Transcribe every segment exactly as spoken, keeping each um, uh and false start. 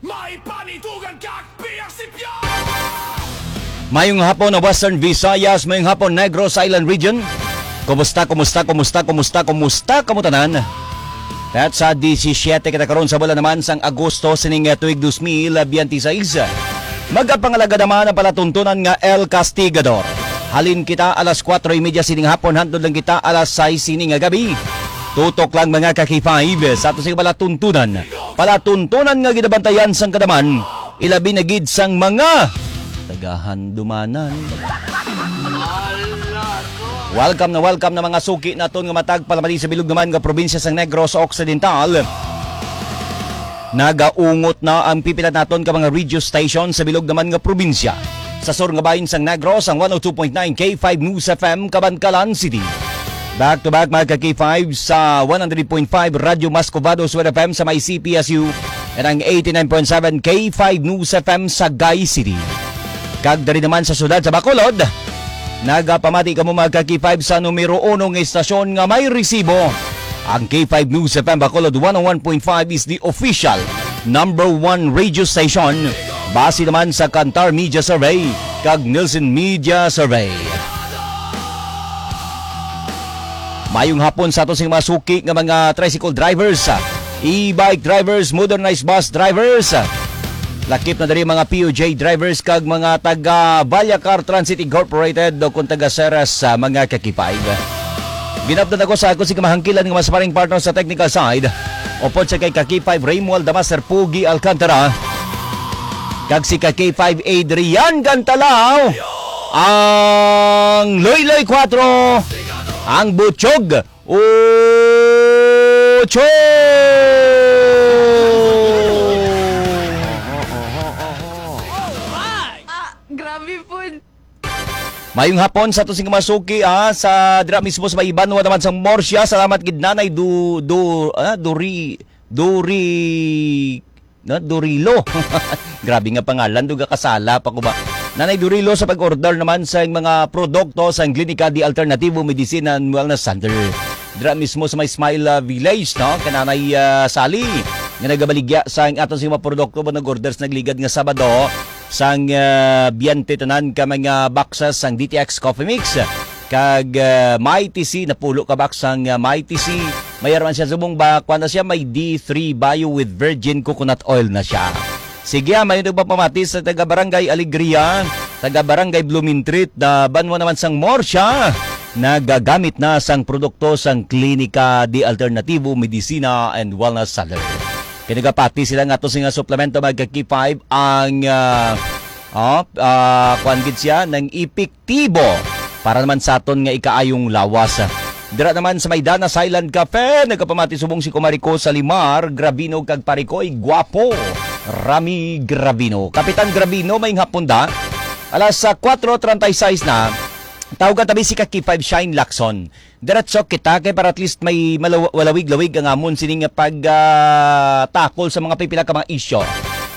May panitugan ka, P R C P R! Mayong hapon na Western Visayas, mayong hapon Negros Island Region. Kumusta, kumusta, kumusta, kumusta, kumusta, kamo tanan? Petsa disisyete kita karon sa bulan naman sang Agosto sining, eh, tuig dos mil biyente seis. Magapangalaga naman ang palatuntunan nga El Castigador. Halin kita alas kuwatro y media sining hapon, hantod lang kita alas sais sining gabi. Tutok lang, mga ka-K five, sa ato sing palatuntunan. Palatuntunan nga ginabantayan sang kadaman, ilabi na gid sang mga tagahandumanan. Welcome na welcome na mga suki naton nga matag palamati sa bilog naman nga probinsya sang Negros Occidental. Nagaungot na ang pipila naton ka mga radio station sa bilog naman nga probinsya. Sa sur nga bahin sang Negros, ang one oh two point nine K five News F M, Kabankalan City. Back to back, mga ka-K five, sa one hundred point five Radyo Mas Covado Sued F M sa may C P S U, and ang eighty-nine point seven K five News F M sa Sagay City. Kag diri naman sa siyudad sa Bacolod, nagapamati kamo, mga ka-K five, sa numero uno nga istasyon nga may resibo. Ang K five News F M Bacolod one oh one point five is the official number one radio station base naman sa Kantar Media Survey kag Nielsen Media Survey. Mayong hapon sa ato sing mga suki nga mga tricycle drivers, e-bike drivers, motorized bus drivers, lakip na diri mga P U J drivers kag mga taga Vallecar Transit Incorporated o kung taga Ceres, ah, mga ka-K five. Ginapdan ako sa ako sing kamahangkilan nga mga sparring partner sa technical side. Upod sa kay ka-K five Raymuald Damaster Pugi Alcantara kag si ka-K five Adrian Gantalaw, ang Loyloy Cuatro, ang Butchog Ocho. Ah, grabe po. Mayong hapon sa ato sing mga suki, ah, sa dira mismo sa may banwa naman sang Murcia. Salamat gid, Nanay Du-, Du-, ah, Duri-, Duri-, no, Durilo. Grabe nga pangalan, duga kasala pa ko ba? Nanay Durilo, sa pag-order naman sa mga produkto sa Klinika de Alternativo Medicina and Wellness Center. Dira mismo sa may Smile, ah, Village, no? Kay Nanay, ah, Sally, nga nagabaligya sa aton sa mga produkto ba nag-order sa nagligad nga Sabado. Sang, ah, biyente tanan ka mga boxes sang D T X Coffee Mix. Kag, ah, Mighty C, napulo ka box sang, ah, Mighty C. Mayar man siya subong ba, kuwan na siya, may D three Bio with virgin coconut oil na siya. Sige, ah, may nagpapamati sa taga Barangay Alegria, taga Barangay Blooming Treat, na banwa naman sang Murcia. Nagagamit na sang produkto sang Klinika de Alternativo Medicina and Wellness Center. Kay nagapati sila nga ato sing suplemento, mga ka-K five, ang, ah, oh, ah, kuwan gid siya, nang epektibo para naman sa aton nga ikaayong lawas. Dira naman sa may Dana Silent Cafe, nagapamati subong si Kumari ko sa Limar Gravino kag Parikoy Guapo, Rami Gravino. Kapitan Gravino, may hapon da. Alas sa kuwatro treinta y seis na, tawgan tabi si ka-K five Shine Lacson. Diretso kita kay para at least may malaw-, walawig-lawig ang amon sining pag, ah, takol sa mga pipila ka mga isyu.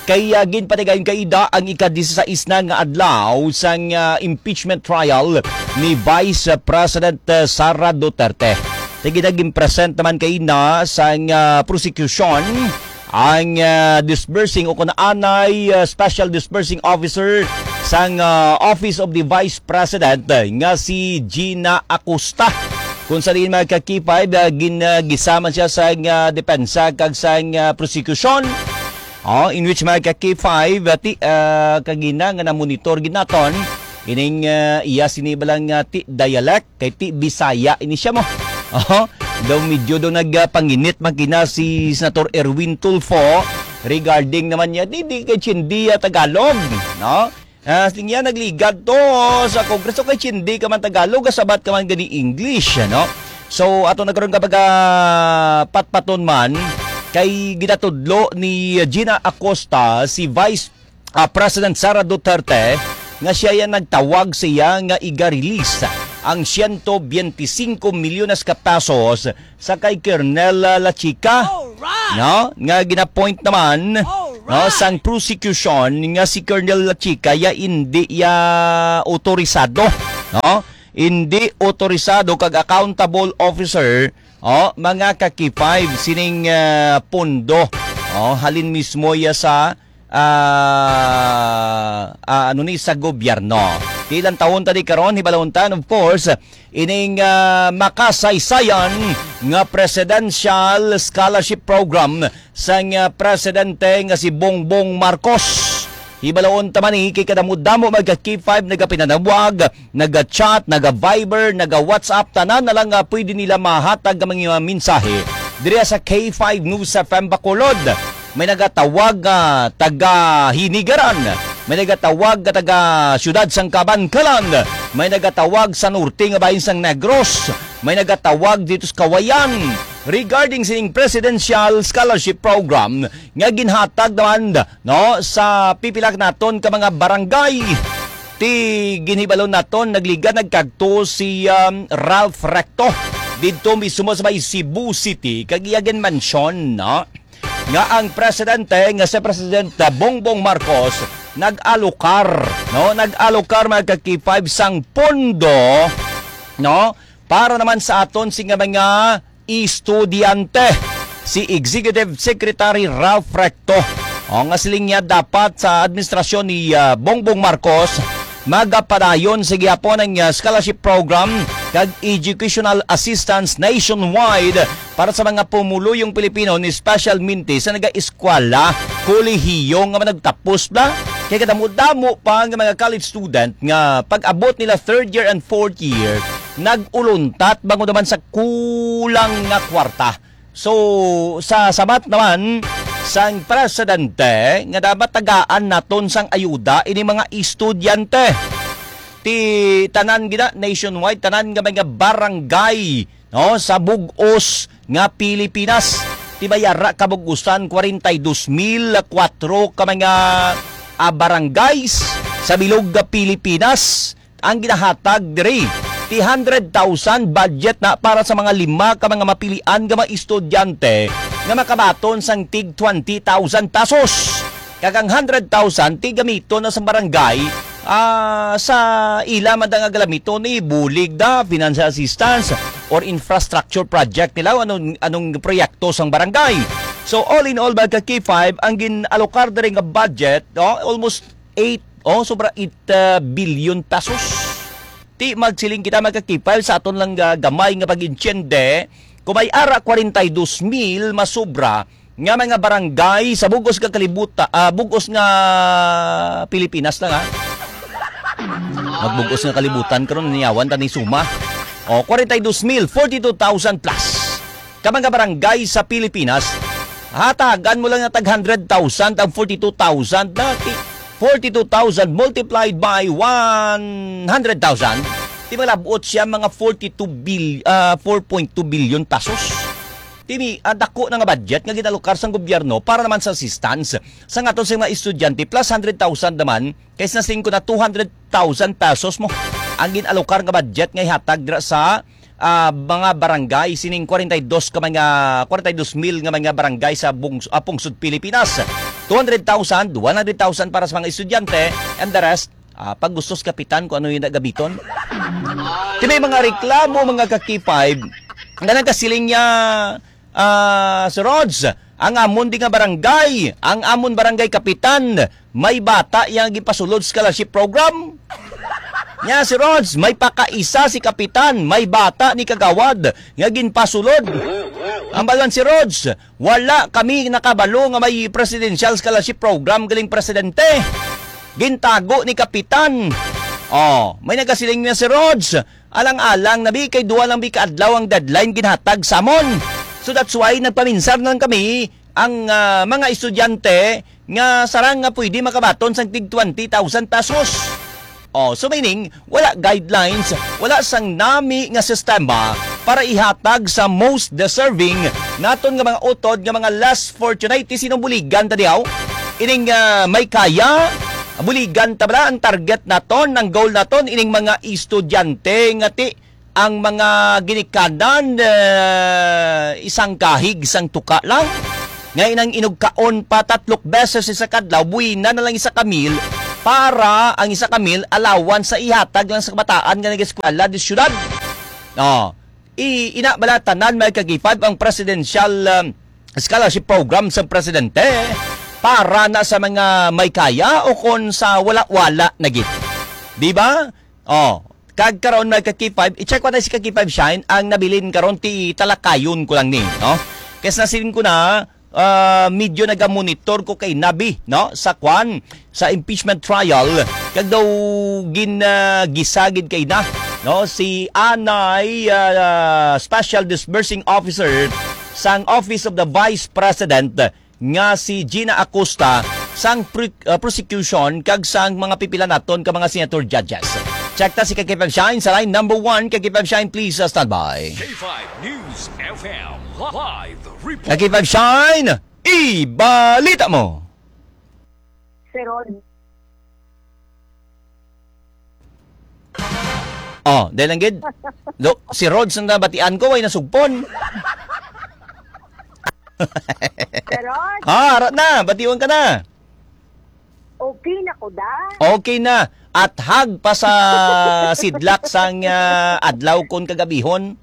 Kay, ah, ginpatigayon kay ida ang ika-disisais na nga adlaw sang, ah, impeachment trial ni Vice President, ah, Sara Duterte. Kay ginag-present naman kay na sang, ah, prosecution ang, ah, disbursing o kung anay, ah, special disbursing officer sang, ah, Office of the Vice President, ah, nga si Gina Acosta. Kung sa diin, mga ka-K five, ah, gin-, ah, gisama siya sa, ah, depensa kag sa, ah, prosecution. Oh, in which, mga ka-K five, ah, ti, ah, kagina nga na-monitor gid naton ining, ah, iya sini balang, ah, ti dialect. Kay ti Bisaya ini siya mo. Oh, daw medyo daw nagpanginit makina si Senator Erwin Tulfo regarding naman niya, di, di kay Chindia Tagalog, no? Ah, sing iya nagligad to sa Kongreso kay Chindi ka man Tagalog, kasabat ka man gani English, no? So, ato na karon kapag, ah, patpaton man, kay ginatudlo ni Gina Acosta si Vice ah, President Sara Duterte nga siya yan nagtawag siya nga iga-release ang siyento biyente singko milyones ka pesos sa kay Colonel, ah, Lachica, Alright! no, nga ginapoint naman, no, Alright! sang prosecution nga si Colonel Lachica ya indi ya otorisado, no? Indi otorisado kag accountable officer, oh, mga ka-K five, sining, ah, pondo. Oh, halin mismo ya sa ah, ah, ano ni, sa gobyerno. Ilang taon tadi karon, hibalon ta, and of course, ining, ah, makasaysayan nga Presidential Scholarship Program sang, ah, presidente nga si Bongbong Marcos. Hibalaon ta man ni kay kadamo-damo, mga ka-K five, nagapinanawag, naga-chat, naga-Viber, naga-WhatsApp, tanan na lang nga pwede nila mahatag ang mga mensahe diri sa K five News F M Bacolod. May nagatawag nga taga Hinigaran, may nagatawag nga taga Siyudad sang Kabankalan, may nagatawag sa norte nga bahin sang Negros, may nagatawag dito sa Kawayan regarding sining Presidential Scholarship Program nga ginhatag naman, no, sa pipila naton ka mga barangay. Ti ginhibalo naton, nagliga nagkadto si, um, Ralph Recto didto mismo sa may Cebu City, kag iya ginmention, no, nga ang presidente nga si President Bongbong Marcos nag-alokar, no, nag-alokar, mga ka-K five, sang pondo, no, para naman sa aton sing mga estudyante. Si Executive Secretary Ralph Recto, o, nga siling niya, dapat sa administrasyon ni, ah, Bongbong Marcos, magapadayon sa gihapon ang, ah, scholarship program kag educational assistance nationwide para sa mga pumuluyong Pilipino ni special mentees sa naga-eskwela, kolehiyo nga managtapos bla. Kay kadamo-damo pa nga mga college student nga pag-abot nila third year and fourth year, nag-uluntat bangod naman sa kulang nga kwarta. So, sa sabat naman sang presidente nga dapat tagaan naton sang ayuda ini mga estudyante. Ti tanan gina nationwide, tanan nga mga barangay, no, sa bug-os nga Pilipinas. Ti may ara ka bug-usan, kwarenta y dos mil kwatro ka mga, ah, barangays sa bilog nga Pilipinas ang ginahatag diri. Ti hundred thousand budget na para sa mga lima ka mga mapilian nga mga estudyante nga makabaton sang tig twenty thousand pesos. Kag ang hundred thousand ti gamiton na sa barangay, ah, sa ila man nga galamiton ni bulig da, financial assistance, or infrastructure project nila, o anong, anong proyekto sang barangay. So, all in all, mga ka-K five, ang gin-alokar diri nga budget, no, almost eight, oh, sobra eight, ah, billion pesos. Ti magsiling kita, mga ka-K five, sa aton lang, ah, gamay nga pag-intiende, kung may ara kwarenta y dos mil masobra nga mga barangay sa bug-os nga kalibuta-, ah, bug-os nga Pilipinas lang, ha? Magbug-os nga kalibutan karon, niyawan ta ni suma. O, kwarenta y dos mil, forty-two thousand plus ka mga barangay sa Pilipinas, hatagan mo lang nga tag hundred thousand ang forty-two thousand, na ti-, forty-two thousand multiplied by one hundred thousand, ti malabot siya mga forty-two bil-, ah, four point two billion pesos. Ti ni, ang dako na nga budget nga ginalokar sang gobyerno para naman sa assistance sa aton sa mga estudyante, plus hundred thousand naman, kay sa singko na two hundred thousand pesos mo ang ginalokar nga budget nga ihatag dira sa, ah, mga barangay, sining kwarenta y dos ka mga, kwarenta y dos mil nga mga barangay sa bungs-, ah, pungsod Pilipinas. Two hundred thousand, one hundred thousand para sa mga estudyante, and the rest, ah, pag gusto sa kapitan kung ano yung nagamiton. Ti may mga reklamo, mga ka-K five, nga nagkasiling niya, ah, si Rods, ang amon di nga barangay, ang amon barangay kapitan, may bata yang gipasulod scholarship program. Nya si Rods, may pakaisa si kapitan, may bata ni kagawad nga ginpasulod. Ang balan si Rods, wala kami nakabalo nga may presidential scholarship program galing presidente. Gintago ni kapitan. Oh, may nagasiling na si Rods. Alang-alang na bi, kay duha lang bi ka adlaw ang deadline ginhatag sa amon. So that's why nagpaminsar na lang kami ang, ah, mga estudyante nga sarang nga pwede makabaton sang tig twenty thousand pesos. Oh, so meaning, wala guidelines, wala sang nami nga sistema para ihatag sa most deserving naton nga mga utod nga mga less fortunate. Ti sino buligan ta dihaw? Ining, ah, may kaya, buligan ta bala ang target naton, ang goal naton, ining mga estudyante nga ti ang mga ginikanan, eh, isang kahig, isang tuka lang. Nga inang inugkaon pa tatlok beses sa kadlaw, buwina na lang isa ka meal para ang isa ka meal allowance sa ihatag lang sa kabataan nga nag-eskwela di syudad. Oh, i-, ina bala tanan, mga ka-K five, ang presidential, um, scholarship program sa presidente. Para na sa mga may kaya o kon sa wala-wala na gid. Di ba? Oh, kag karon, mga ka-K five, i-check ko na si ka-K five Shine ang nabilin karon, ti talakayon ko lang ni, no? Kay sa siling ko na, ah, medyo nagamonitor ko kay Nabi, no? Sa kwan, sa impeachment trial, kag daw gin, ah, gisagid kay na, no? Si anay, ah, Special Disbursing Officer sang Office of the Vice President, nga si Gina Acosta sang pre-, uh, prosecution kag sang mga pipila naton ka mga senator judges. Check ta si ka-K five Shine sa line number one. Ka-K five Shine, please, uh, stand by. K five News F M live report. Ka-K five Shine, ibalita mo. Sir Rod. Oh, dahil lang gid. Do, si Rod, sa nabatian ko, way nasugpon. Sir Rod? Ah, ara na, batiwan ka na. Okay na ko, da? Okay na. At hag pa sa sidlak sang, ah, adlaw kon kagabihon.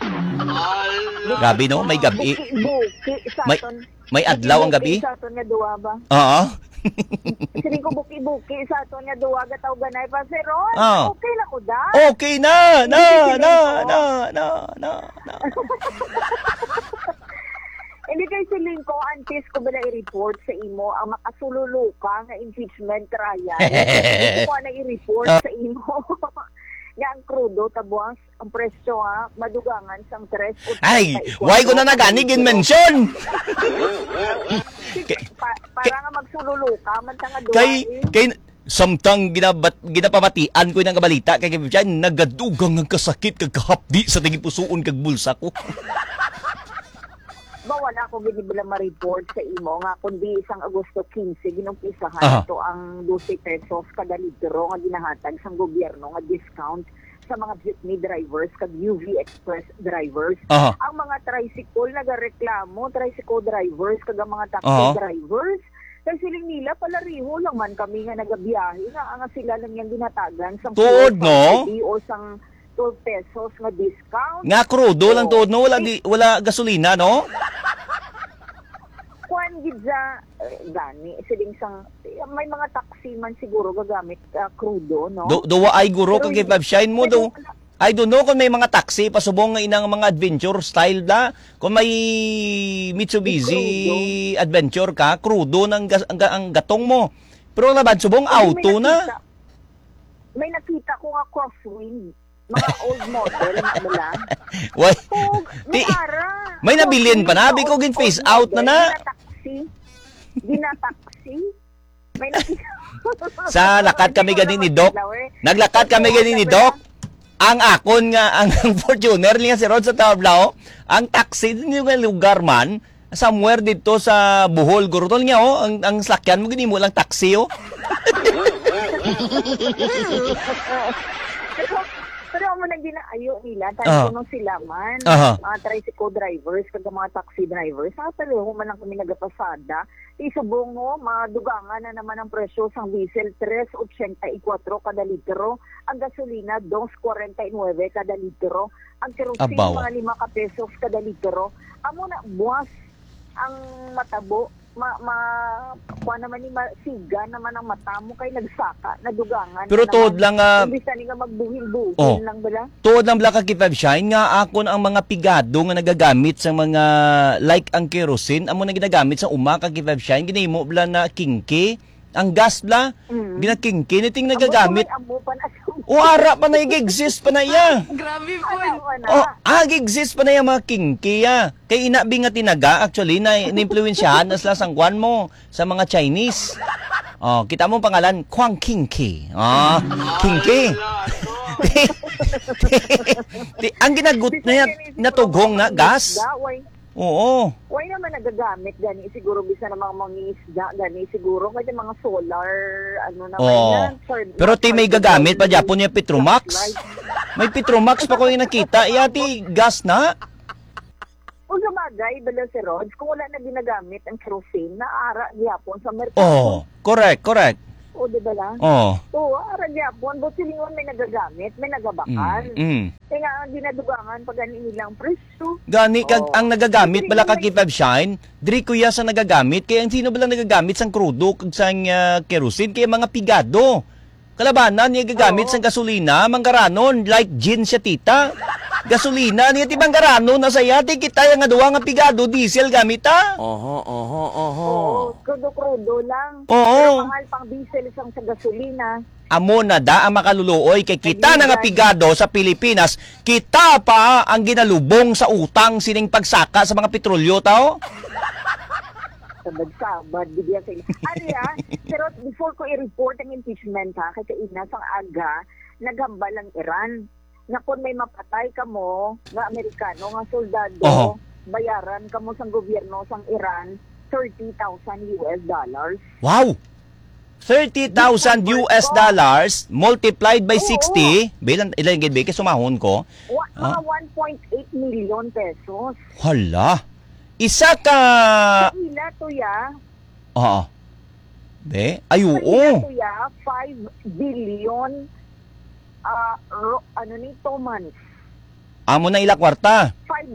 Grabe, no? May gabi. Buki-buki sa May aton. May adlaw ang gabi? Buki-buki sa aton nga duwa ba? Oo. Siling ko, buki-buki sa aton nga duwa, gataw-ganay pa, Sir Ron. Oh. Okay na ko, da? Okay na, na, Hindi, na, siling ko. na, na, na, na. Hindi kay siling ko, antes ko bala i-report sa imo ang makasululuka nga impeachment trial. Hindi ko na i-report Ah. sa imo. Nga ang krudo, tabuang ang presyo, ha, madugangan sang tres o Ay, treinta y kuatro why ko na nagani ka gin-mention? Pa-, para nga magsululuka man ta nga duwa, kay, eh. Kay, samtang ginabat-, ginapamatian ko nga balita kay Kevin Chan, nagadugang ang kasakit kag kahapdi sa tagipusoon kag bulsa ko. Ba, wala ko gid bala ma-report sa imo nga kundi sang Agosto quince, ginumpisahan Aha. nato ang dose pesos kada litro nga ginahatag sang gobyerno nga discount sa mga jeepney drivers kag U V Express drivers. Aha. Ang mga tricycle nagareklamo, tricycle drivers kag ang mga taxi Aha. drivers, kay siling nila, palareho lang man kami nga nagabiyahe, nga, nga sila lang yang ginatagan sang Tuod, fuel no? subsidy or sang twelve pesos nga discount. Nga krudo lang So, tuod, no? Wala eh, gi-, wala gasolina, no? Kuan gid sa, eh, gani, siling sang, may mga taxi man siguro gagamit, ah, krudo, no? Do, do, ay guro Pero kag hindi, Five Shine mo, pero do. wala. I don't know kung may mga taxi pasubong nga inang mga adventure style da. Kung may Mitsubishi Krudo. Adventure ka, krudo ng gas-, ang, ga-, ang gatong mo. Pero laban subong Hindi, may auto na. nakita. May nakita ko nga crosswind. Mga old model na bala. Why? Kung Ti-, may ara. may nabilin pa na, Crosswind, biko gin phase old out na model, na. Ginataksi. Ginataksi. May nakita. Sa lakat kami Hindi ko gani ni naman Doc. Flower. Naglakat kami Kasi gani ni ano Doc. ba? Ang akon nga, ang, ang Fortuner niya si Rod sa Tablao, ang taxi din yung lugar man, somewhere dito sa Bohol, guro tol niya, oh, ang, ang sakyan mo, ginimo lang taxi, oh. Pero, pero amo na ginaayo nila, Ah. tanto nung sila man, Aha. mga tricycle drivers, kag mga taxi drivers, sa pareho man lang kami nagapasada, isubong mo, madugangan na naman ang presyo sang diesel, tres ochenta y cuatro kada litro, ang gasolina, dos cuarenta y nueve kada litro, ang kerosene, Abaw. mga lima ka pesos kada litro. Amo na, buwas ang matabo, ma-, ma-, kuha naman ni, masiga naman ang mata mo kay nagsaka, nadugangan Pero na tuod naman. lang, ah, Imbis na ni nga magbuhil-buhil Oh. lang bala. Tuod lang bala ka, Kevin Shine, nga akon ang mga pigado nga nagagamit sa mga, like, ang kerosene, amo na ginagamit sa uma ka, Kevin Shine, ginahimo bala na kinky, ang gas bala, Mm. ginakingki, niting Amo nagagamit. pa man, amo pa na sa O, ara pa na, ig-exist pa na iya. Grabe po. Ano, ano? Oh, ag-exist pa na iya mga kinky, ah. Kay ina bi nga tinaga, actually, na, naimpluwensyahan na sila sang kwan mo, sa mga Chinese. Oh, kita mo ang pangalan, Kuang Kinky. Ah, Kinky. Ti-, ti-, ang ginagut na yan, natughong na, gas. Why? Oo. Why naman nagagamit gani siguro bisan ang mga mangingisda gani siguro kay mga solar, ano naman Oo. yan, sir, Pero ti may gagamit pa gyapon niya Petromax. May Petromax pa ko yung nakita. Iya ti gas na. Kung sa bagay, bala si Rods, kung wala na ginagamit ang kerosene, naara gyapon sa merkado. Oh, correct, correct. O, di ba lang? Oh. Oo, ara gyapon, but silingon may nagagamit, may nagabakal. Mm, mm. Kaya nga, ang ginadugangan pa gani nilang presyo. Gani, kag Oo. ang nagagamit Sige, bala may kag Kipab Shine, diri kuya sa nagagamit, kay ang sino bala nagagamit sang krudo kag sang, ah, kerosene, kay mga pigado. Kalabanan niya gagamit Oo. sang gasolina, manggaranon, like Jean siya, tita. Gasolina niya, ti manggaranon na saya, ti kita nga duwa nga pigado, diesel gamit, ha? Oho, oho, oho. Oo, krudo-krudo lang. Oo. Pero mahal pang diesel sang sa gasolina. Amo na da ang makaluluoy kay kita na nga Nagligay. pigado sa Pilipinas, kita pa ang ginalubong sa utang sining pagsaka sa mga petrolyo, tao? Sabad-sabad, gid yan sa inyo. Ano yan? Pero before ko i-report ang impeachment, ha, kay kaina sang aga, naghambal ang Iran nga kung may mapatay kamo nga Amerikano nga soldado, Oho. bayaran kamo sang gobyerno sang Iran thirty thousand U S dollars. Wow! Thirty thousand Big U S convert ko. dollars multiplied by Oo. sixty. Bilang, ilan gid, be? Kay sumahon ko. Wa-, Ah. mga one point eight million pesos. Hala. Isa ka Sa ila to, ya. Oo. Be? Ay, Sa oo. ila to, ya, five billion, ah, ro-, ano ni, two months. Amo na ila kwarta. Five,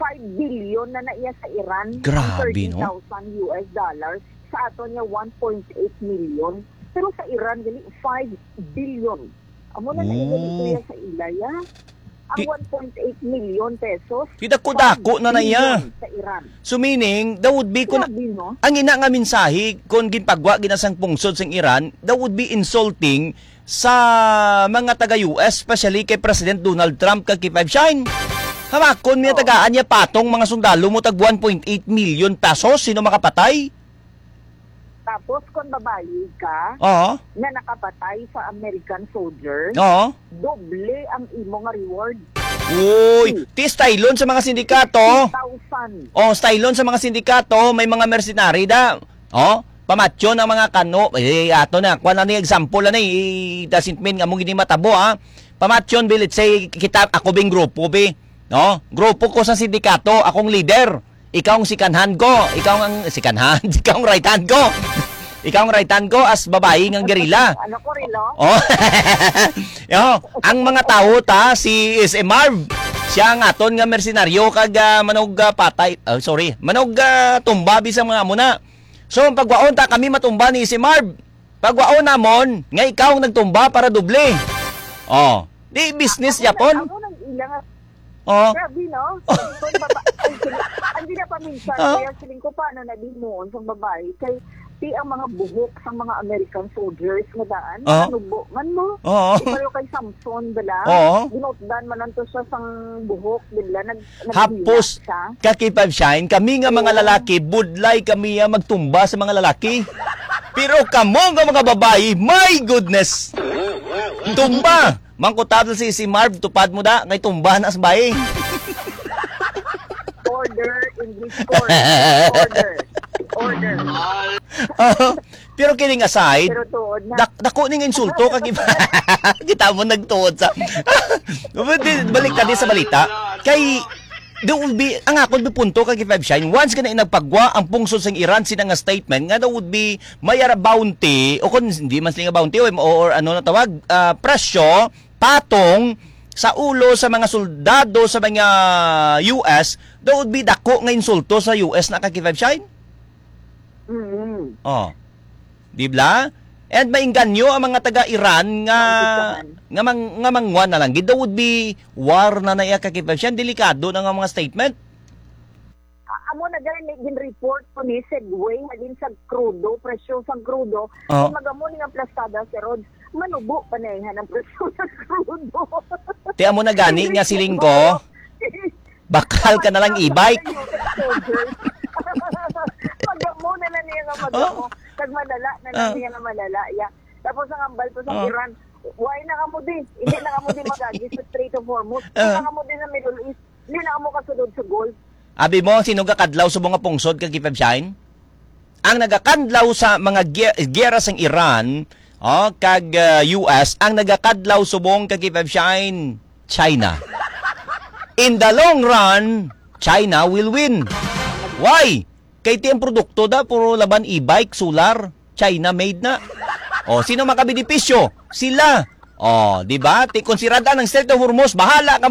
five billion na na iya sa Iran, ang Grabe, no? thirty thousand U S dollars. Sa aton niya, one point eight million. Pero sa Iran, gali, five billion. Amo na na iya Oh. dito ya sa ila, ya. Ang Di one point eight million pesos, Di dako-dako na na iya. five billion sa Iran. So, meaning, that would be kung Grabe, no? ang ina nga mensahe, kung ginpagwa gina sang pungsod sang Iran, that would be insulting sa mga taga U S, especially kay President Donald Trump kag kay Five Shine. Hamakon niya Oh. tagaan niya patong mga sundalo mo tag one point eight million pesos, sino makapatay? Tapos, kung babayi ka Oo. na nakapatay sa American soldier, Oo. doble ang imo nga reward. Uy, Hmm. ti stylon sa mga sindikato. Fifty thousand. Oh, stylon sa mga sindikato, may mga mercenary da. Oh, pamatyon ang mga kano. Eh, ato na, kuha na ni example na eh. It doesn't mean nga mo gini matabo, ha. Pamatyon, bi, let's say, kita, ako bing grupo, bi. No? Grupo ko sa sindikato, akong leader. Ikaw ang second hand ko. Ikaw ang second hand. Ikaw ang right hand ko. Ikaw ang right hand ko as babae nga gerila. Ano ko, Rilo? Oh. Yo, ang mga tawo ta, si S M Marv, siya ang aton nga mersenaryo kag, ah, manog, ah, patay. Oh, sorry. Manog, ah, tumba bisang mga amo na. So, ang pagwaon ta kami matumba ni S M Marv. Pagwaon namon nga ikaw ang nagtumba para doble. Oh, di business Amo na, yapon. Amo na ila nga Oh. Grabe, no? Kung baba-, ay, sili-, ang ginapaminsan, Oh. kaya siling ko, paano na di mo, sa babae? Kay, di ang mga buhok sa mga American soldiers nga daan, Oh. nanubo man mo. Oo. Di pareho kay Samson, bala? Oo. Ginutdan man lang to siya sang buhok, di bala? Nag-, Hapos, naghilak siya. Ka K five Shine, kami nga mga Oo. lalaki, budlay kami, ah, magtumba sa mga lalaki. Pero kamo nga mga babae, my goodness! Tumba! Mangkutab si, si Marv, tupad mo da, kay tumba na sa bae. Order, English course. Order. Order. Pero kidding aside, Pero tuod na. dak-, dako ning insulto kag iba. Kita mo nagtuod sa Balik ta di sa balita. Kay, do will be, ang akon punto kag Five Shine, once ka na inagpagwa ang pungsod sang Iran sina nga statement nga there would be may ara bounty, o kung hindi man sila nga bounty, o, or ano na tawag, ah, presyo, patong sa ulo sa mga soldado sa mga U S, that would be dako nga insulto sa U S na ka Five Shine. Mm. Oh. Di bla? And mainganyo ang mga taga-Iran nga, Naumpisahan. nga mang-, nga mangwa na lang. Gid, that would be war na na iya ka Five Shine. Delikado na nga mga statement. A-, amo na gani gin-report ko ni segue halin sa krudo, presyo sang krudo. Oh. Kung magamo ni nga plastada, Sir Rod, manubo pa na iya ang presyo sa krudo. Ti amo na gani nga siling ko, bakal ka na lang e-bike. Magamo na lang niya nga magamo. Oh. Kag malala na lang Ah. niya nga malala, ya. Tapos ang ambal ko sa Oh. Iran, why na kamo di? Hindi na kamo di magagi sa Strait of Hormuz. Hindi Ah. na kamo di sa Middle East. Hindi na kamo kasulod sa Gulf. Abi mo, sino gakadlaw subong nga pungsod kag Five Shine? Ang nagakadlaw sa mga gi-, giyera sang Iran, oh, kag, uh, U S, ang nagakadlaw subong kag Five Shine, China. In the long run, China will win. Why? Kay ti ang produkto da, puro laban e-bike, solar, China made na. O, sino makabenepisyo? Sila. O, di ba? Ti, kung sirad-an ang Strait of Hormuz, bahala ka